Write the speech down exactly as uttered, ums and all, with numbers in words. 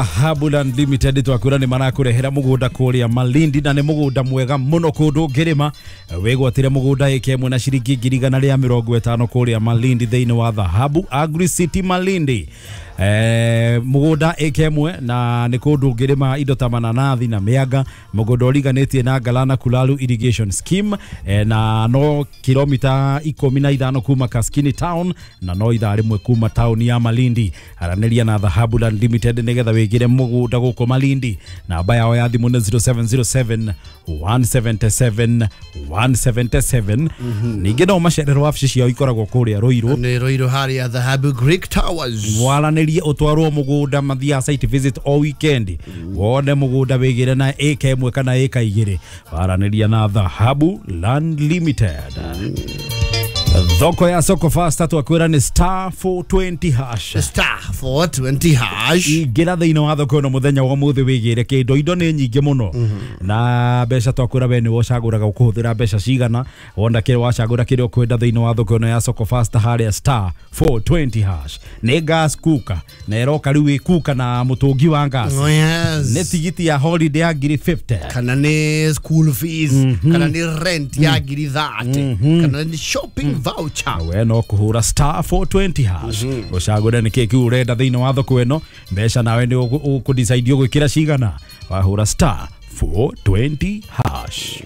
Dhahabu Land Limited twakwĩra nĩ marakũrehera mũgũnda kũrĩa Malindi, na nĩ mũgũnda mwega mũno kũndũ ũngĩrĩma. Wĩgwatĩre mũgũnda ĩka ĩmwe na ciringi ngiri igana rĩa mĩrongo ĩtano kũrĩa Malindi thĩinĩ wa Dhahabu Agri City Malindi. Eh, mũgũnda ĩka ĩmwe na nĩ kũndũ ũngĩrĩma indo ta mananathi na mĩanga, mũgũnda ũriganĩtie na Galana Kulalu Irrigation Scheme, eh, na no kilomita ikũmi na ithano kuma Kaskini Town na no ithaa rĩmwe kuma taũni ya Malindi. Aranĩria na Dhahabu Land Limited nĩgetha wĩgĩre mũgũnda gũkũ Malindi. Namba yao ya thimũ nĩ zero seven zero seven one seven seven one seven seven. Ningĩ no macererwo wabici ciao ikoragwo kũrĩa Ruiru. Nĩ Ruiru harĩa Dhahabu Greek Towers. Mwaranĩrie ũtwarwo mũgũnda, mathiaga site visit o weekend, wone mũgũnda wĩgĩre na ĩka ĩmwe kana ĩka igĩrĩ. Waranĩria na Dhahabu Land Limited. Thoko ya Soko Fasta twakwĩra nĩ star four twenty hash. Star four twenty hash. Ingĩra thĩinĩ wa thoko ĩno mũthenya wa ũmũthĩ wĩgĩre kĩndũ, indo nĩ nyingĩ mũno na mbeca twakwĩra we nĩwe ũcagũraga ũkũhũthĩra mbeca cigana, wona kĩrĩa wacagũra kĩrĩa ũkwenda thĩinĩ wa thoko ĩno ya Soko Fasta harĩa star four twenty hash. Nĩ gas cooker na ĩroka rĩu ĩ cooker na mũtũngi wa gas. Oh, yes. Nĩ tigiti ya holiday ya ngiri fifty. Kana nĩ school fees, kana nĩ rent ya ngiri thirty, kana nĩ shopping voucher. We no kuhura star four twenty hash ucagure nĩ kĩ kĩu ũrenda thĩinĩ wa thoko ĩno, mbeca nawe nĩ ũkũdecide ũgwĩkĩra cigana, wahũra star four twenty hash.